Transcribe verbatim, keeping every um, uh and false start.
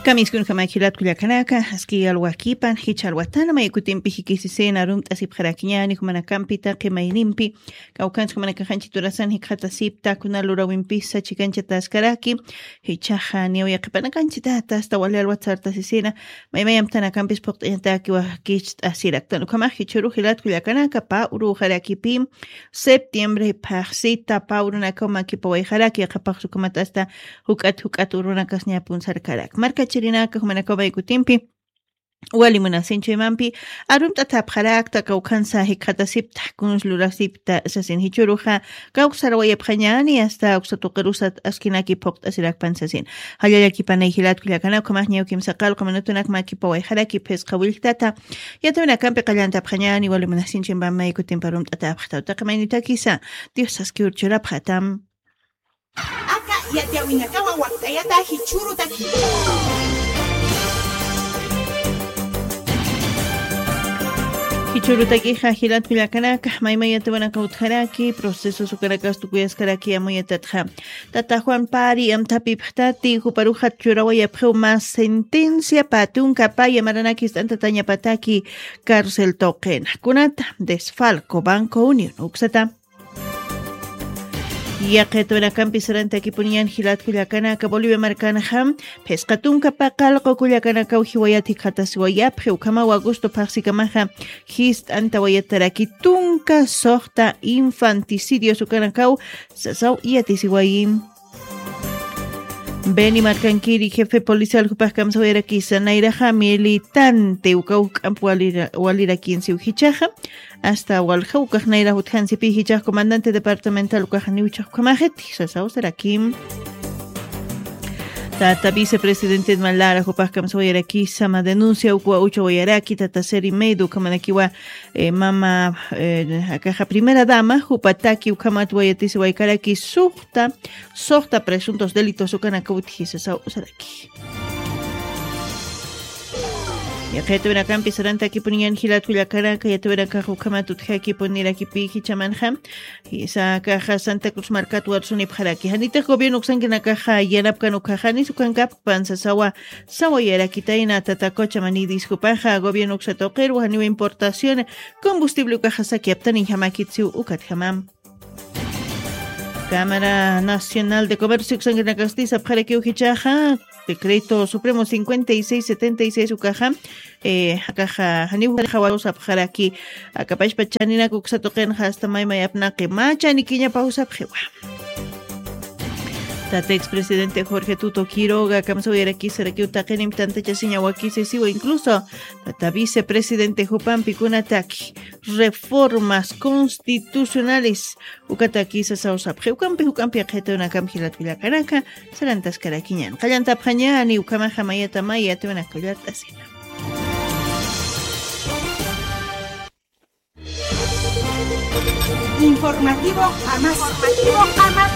Kamiskunjama jilat kullakanaka, aski alwakipan, jichha alwatana, maykutimpi jikisisina, arumt'asipxarakiñani, jumanakampi taqi maynimpi, kawkhansa jumanakaxanchi turasan jikxatasipta, kuna lurawimpisa, chikanchataskaraki, jichhaxa, niyaw yaqipanakanchitata, asta wali alwat sartasisina, maymayamtanakampis phuqt'añataki wakicht'asiraktan, ukhamax jichhuru jilat kullakanaka, pä uruxarakipi, septiembre phaxsita pä urunakaw makipawayxaraki, yaqapax ukhamat asta juk'at juk'at urunakas ñapun sarkarak. Markachirinaka jumanakaw maykutimpi, wali munasinchuymampi, arumt'atäpxarakta, kawkhansa jikxatasipta, kuns lurasipta, sasin jichhuruxa, kawksarawayapxañani, asta uksa tuqirusat askinaki phuqt'asirakpan sasin. Jallallakipana jilat kullakana, ukhamax ñaw kimsa qallqu minutunak makipawayxaraki phisqa willktata, yatawinakampi qallantapxañani, wali munasinchuymampi maykutimpi arumt'atäpxta, taqi maynitakisa, Dios askiw churapxatam. Aka yatiyawinakawa wakt'ayata jichhürutaki. Jichhürutakixa jilat kullakanaka, maymay yatiyawinaka utjaraki, procesos ukanakas tukuyaskaraki amuyatatxa. Tata Juan Pari amthapipxtati, juparuxat churawayapxiw mä sentencia, pä tunka pä yamaranaki jist'antatañapataki cárcel tuqina. Kunata, desfalco, Banco Unión, uksata. Yaqha yatiyawinakampi sarantakipuniñan jilat kullakanaka, Bolivia markanxa, phisqa tunka pä qallqu kullakanakaw jiwayat jikxatasiwayapxi, ukhamaw agosto phaxsikamaxa, jist'antawayataraki tunka suxta infanticidios ukanakaw, sasaw yatisiwayi. Beni Markankiri, jefe policial, jupax kamsawayarakisa, nayraxa militante, ukaw juk'amp walira-, walirakinsiw jichhaxa, asta walja ukax nayra jutjansipi jichhax comandante departamental ukax niwchhax ukhamaxit, sasaw sarakim. Tata vicepresidente Malara, jupax kamsawayarakisa, mä denuncia ukwa uchawayaraki, tata Seri Medo, ukhamanakiwa, eh, mama, eh, akaxa primera dama, jupataki ukhamat wayatisiwaykaraki, suxta, suxta presuntos delitos ukanaka utji sasaw usaraki. Yaqha yatiyawinakampi sarantakipuniñan jilat kullakanaka, yatiyawinakax ukhamat utjakipunirakipï jichhamanxa, jisa akaxa Santa Cruz markat warsunipxaraki. Janitix gobierno uksankinakaxa yanapkan ukkhaxa, janis ukankapan sasawa, sawayarakitayna tata Cocha Manidis jupaxa, gobierno uksa tuqiru, janiw importación, combustible ukaxa sakiyaptaniñjamäkitsiw ukatjamam. Cámara Nacional de Comercio uksankinakasti sapxarakiw jichhaxa, decreto supremo cincuenta y seis setenta y seis ukaxa, eh, akaxa, janiw jawaru sapxaraki, akapashpa chaninak uksa tuqinxa asta maymay apnaqi, mä chanikiñapaw sapxiwa. Tata expresidente Jorge Tuto Quiroga, kamsawayarakisarakiw taqinimp tantachasiña wakisisiwa, incluso tata vicepresidente jupampi kunataki reformas constitucionales, ukataki sasaw sapxi, ukampi, ukampi yaqha yatiyawinakam jilat kullakanaka, sarantaskarakiñan. Qallantapxañani, ukhamaxa mayata maya yatiyawinaka llart'asina. Informativo Jamás. Informativo Jamás.